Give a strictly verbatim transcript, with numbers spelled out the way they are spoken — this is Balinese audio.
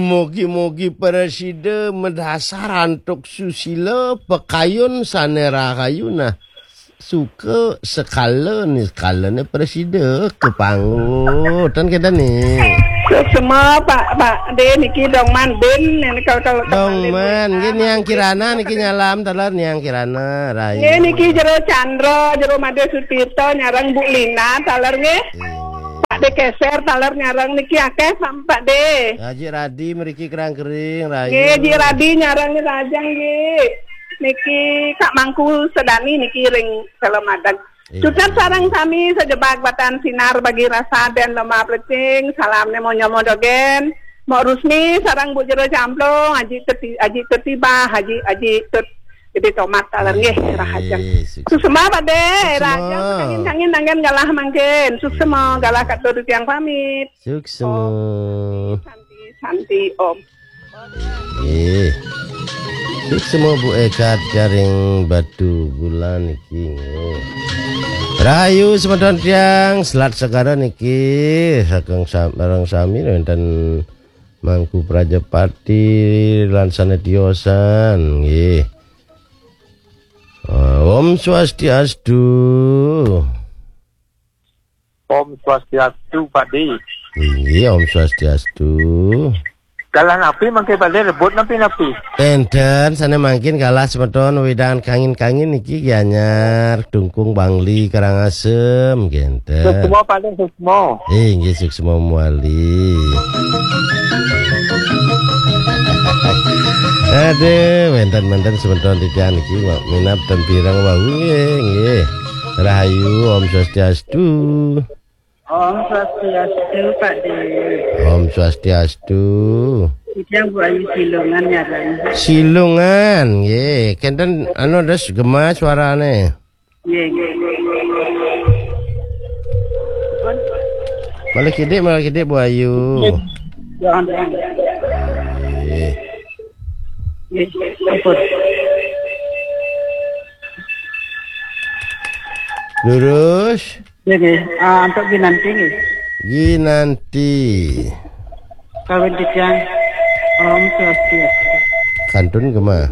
Mugi-mugi prasida madhasar antuk susila, pakayun sane rahayu, nah, suka sekala ni, sekala ni prasida kapanggih. Tan kenten ni. Suksma, Pak, Pak De niki Dongman Bin, niki kalau, kalau Dongman, nggih, Niang Kirana niki nyalam taler, Niang Kirana, rahayu. Nggih, niki Jero Chandra, Jero Made Sutirta, nyareng Bu Lina taler nggih. Nggih. Pak De Keser taler nyareng niki akeh sam-, Pak De. Haji Radi mriki Kerang Kering, rahayu. Nggih, Ji Radi nyareng rahajeng nggih. Niki Kak Mangku Sedani niki ring Kelemadang. Iya. Suksma sareng sami sajebag Batan Sinar Bagi Rasa Den Lomba Plecing, salamne Monyo Modogen, Mok Rusmi sareng Bu Jero Camplung, Haji Teti, Haji Teti Bah, Haji, Haji Tut Gede Tomat taler nggih, nggih, rahajeng. Suksma. Suksma, Pak De, suksma. Rahajeng kangin-kangin anggen galah mangkin. Suksma, iya, galah katur titiang pamit. Suksma. Om Santi, Santi, Om. Nggih. Suksma Bu Ekat karing Batu Bulan niki nggih. Rahayu semeton tiang, selat segara niki saking sam-, sareng sami wenten Mangku Prajapati lan sane tiosan nggih. Ah, Om Swastiastu. Om Swastiastu, Pak De. Inggih, Om Swastiastu. Galah napi mangke, Pak De, rebut napi-napi? Enten, sane mangkin galah semeton wewidangan kangin-kangin niki, Gianyar, Dungkung Bangli, Karangasem, genten. Suksma, Pak De, suksma. Eh, inggih, suksma mawali. Aduh, wenten-wenten semeton titiang niki, Mak, minab ten pireng wau nggih, nggih. Rahayu, Om Swastiastu. Om Swastiastu, Pak De. Om Swastiastu. Titiang Bu Ayu Silungan nyareng. Silungan, nggih. Kenten anu, terus gema suarane. Nggih, nggih. Pun. Malih kidik, malih kidik, Bu Ayu. Nggih. Ya, ampun. Nggih. Nggih, ampun. Lurus. Nggih, nggih. Ah, antuk Ginanti nggih. Ginanti. Kawin titiang. Om Swastiastu. Kantun gema.